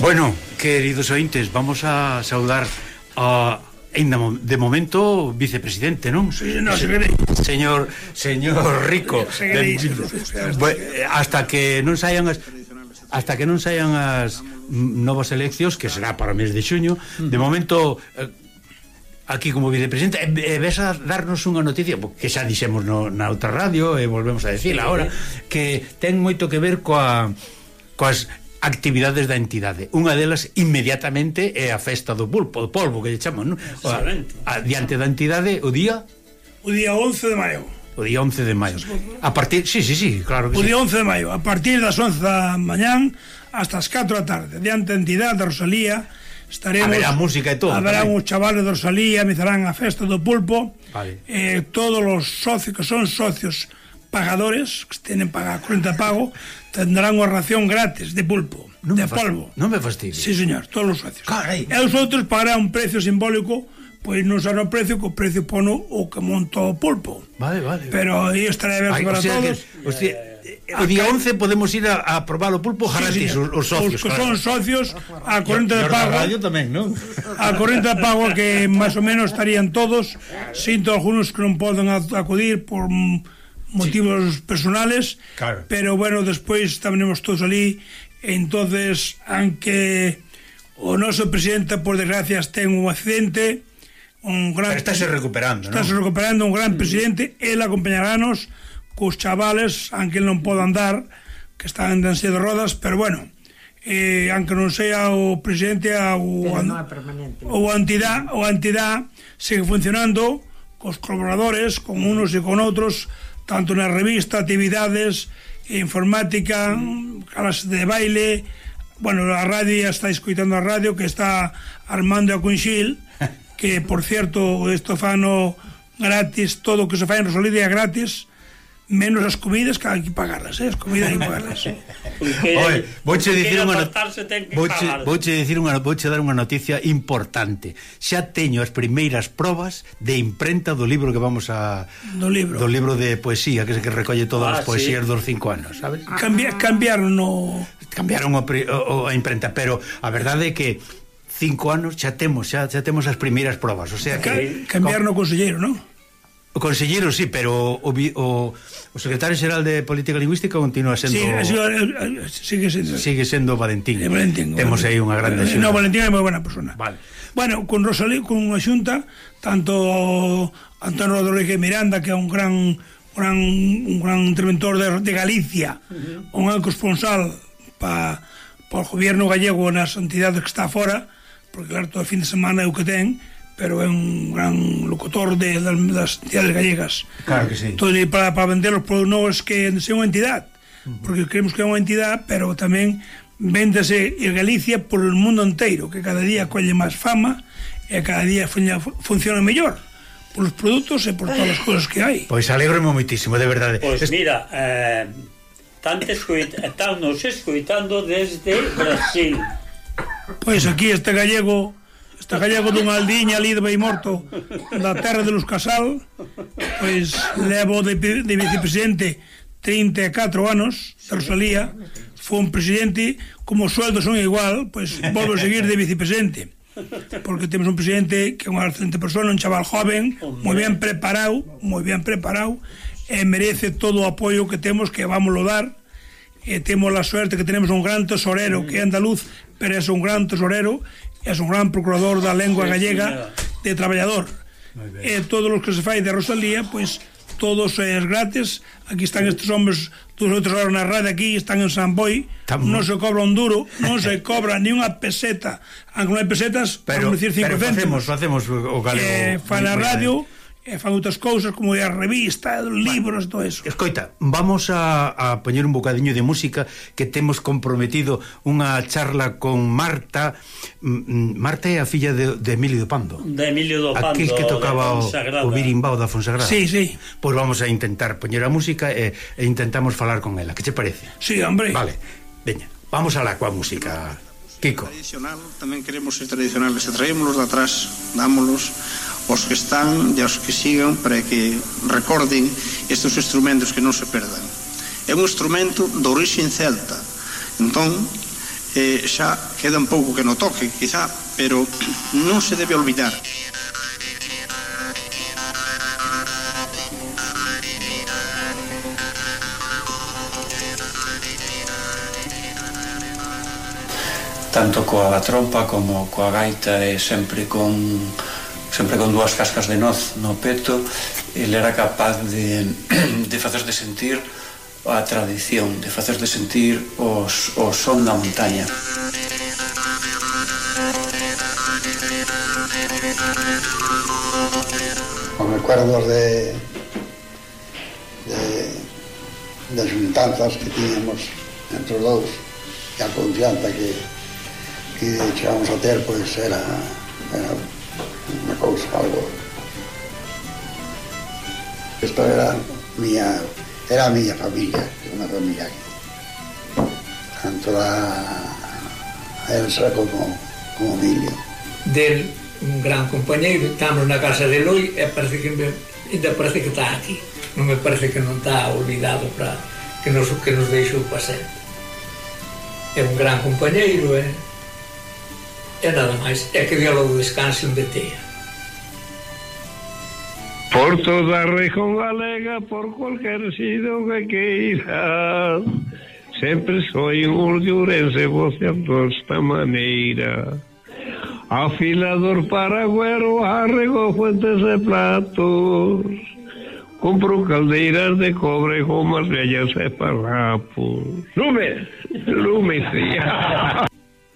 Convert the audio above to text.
Bueno, queridos ointes, vamos a saudar a, de momento, vicepresidente, non? Sí, no, señor Rico. Hasta que non saian as novas eleccións, que será para o mes de xuño, de momento aquí como vicepresidente, ves a darnos unha noticia que xa dixemos na outra radio e volvemos a decir agora, que ten moito que ver coas actividades da entidade. Unha delas inmediatamente é a festa do pulpo, do polvo que lle chamamos, non? Diante da entidade o día 11 de maio. O día 11 de maio. A partir, sí, claro que o día 11 de maio, a partir das 11 da mañán hasta as 4 da tarde, diante da entidade da Rosalía, estaremos, haberá música e todo. Haberá uns chavales de Rosalía, empezarán a festa do pulpo. Vale. Todos os socios que son socios pagadores, que tenen paga corrente de pago, tendrán unha ración gratis de pulpo, polvo. Non me fastidies. Sí, señor, todos os socios. Carai. E os outros pagarán un precio simbólico, pois non será o precio que o precio pono o que monta o pulpo. Vale. Pero aí estará aberto para todos. O día 11 podemos ir a probar o pulpo gratis, os socios. Os que son socios, a corrente de pago. A radio tamén, non? A corrente de pago que máis ou menos estarían todos, sinto algúns que non poden acudir por motivos personales, claro. Pero bueno, despois estaremos todos ali. Entonces, aunque o noso presidente, por desgracia, ten un accidente, pero estáse recuperando, estáse recuperando, un gran presidente. Él acompañarános cos chavales, aunque non poda andar, que están en silla de rodas, pero bueno, aunque non sea o presidente ou a entidade sigue funcionando cos colaboradores, con unos e con outros, tanto na revista, actividades, informática, clases de baile. Bueno, a radio, ya está escoitando a radio que está Armando a Cunxil, que por cierto, isto fano gratis, todo o que se fai en Rosalía é gratis, menos as comidas, que hai que pagarlas, as comidas hai que pagarlas. Vouche dar unha noticia importante. Xa teño as primeiras probas de imprenta do libro que vamos a do libro de poesía que recolle todas as poesías dos 5 anos, sabes? Cambiaron a imprenta, pero a verdade é que 5 anos xa temos as primeiras probas, o sea que cambiaron o conselleiro, non? O conselleiro sí, pero o secretario xeral de Política Lingüística continúa sendo... Sigue sendo Valentín. Temos aí unha grande xunta. No, Valentín é moi buena persona. Vale. Bueno, con Rosalía, con unha xunta, tanto Antonio Rodríguez Miranda, que é un gran interventor de Galicia, un gran corresponsal para o gobierno gallego nas entidades que está fora, porque claro, todo o fin de semana é o que ten, pero é un gran locutor das entidades gallegas. Claro que sí. Todo para vender os produtos que sea unha entidade, porque creemos que é unha entidade, pero tamén véndese en Galicia por el mundo inteiro, que cada día colle máis fama e cada día funciona mellor por os produtos e por todas as cousas que hai. Pois alegro-me moitísimo, de verdade. Pois mira, estamos escoitando desde Brasil. Pois aquí este gallego dunha aldiña ali de Beimorto, da terra de Luz Casal, pois levo de vicepresidente 34 anos de Rosalía. Foi un presidente, como os sueldos son igual, pois volvo a seguir de vicepresidente, porque temos un presidente que é unha excelente persona, un chaval joven, moi ben preparado, e merece todo o apoio que temos, que vamos a dar. E temos a suerte que tenemos un gran tesorero que é andaluz, pero é un gran tesorero, é un gran procurador da lengua gallega, de traballador. E todos os que se fai de Rosalía, pois todos é gratis. Aquí están estes homes 2 ou 3 horas na radio, aquí están en San Boi, non se cobra un duro, non se cobra ni unha peseta, aunque non hai pesetas, pero decir 5 céntimos. Facemos o galego. Fan a radio, e fan outras cousas como a revista, libros, todo eso. Escoita, vamos a poñer un bocadiño de música, que temos comprometido unha charla con Marta. Marta é a filla de Emilio do Pando. De Emilio do Pando, aquel que tocaba o birimbao da Fonsagrada. Sí. Pois vamos a intentar poñer a música e intentamos falar con ela. Que che parece? Sí, hombre. Vale, veña, vamos alá coa música, Kiko. Tradicional, tamén queremos ser tradicionales, e traémolos de atrás, dámolos os que están e os que sigan, para que recorden estes instrumentos, que non se perdan. É un instrumento de orixe celta, entón xa queda un pouco que no toque, quizá, pero non se debe olvidar. Tanto coa trompa como coa gaita e sempre con dúas cascas de noz no peto, ele era capaz de facer de sentir a tradición, de facer de sentir o son da montaña. Os recuerdos de xuntanzas que tiñamos entre os dous e a confianza que chegamos a ter, pois era unha cousa, algo. Isto era a miña familia, unha familia tanto a Elsa como Emilio. Del, un gran compañeiro, estamos na casa de Eloi e parece que está aquí, non me parece que non está olvidado para que nos deixou para sempre. É un gran compañeiro, e nada máis, é que Dios descanse onde tea. Por toda a región galega, por cualquier sitio que queiras, sempre soy un urdiurense voceando esta maneira. Afilador paragüero, arrego fuentes de platos, compro caldeiras de cobre, gomas vellas e parrapos. Lume, sí.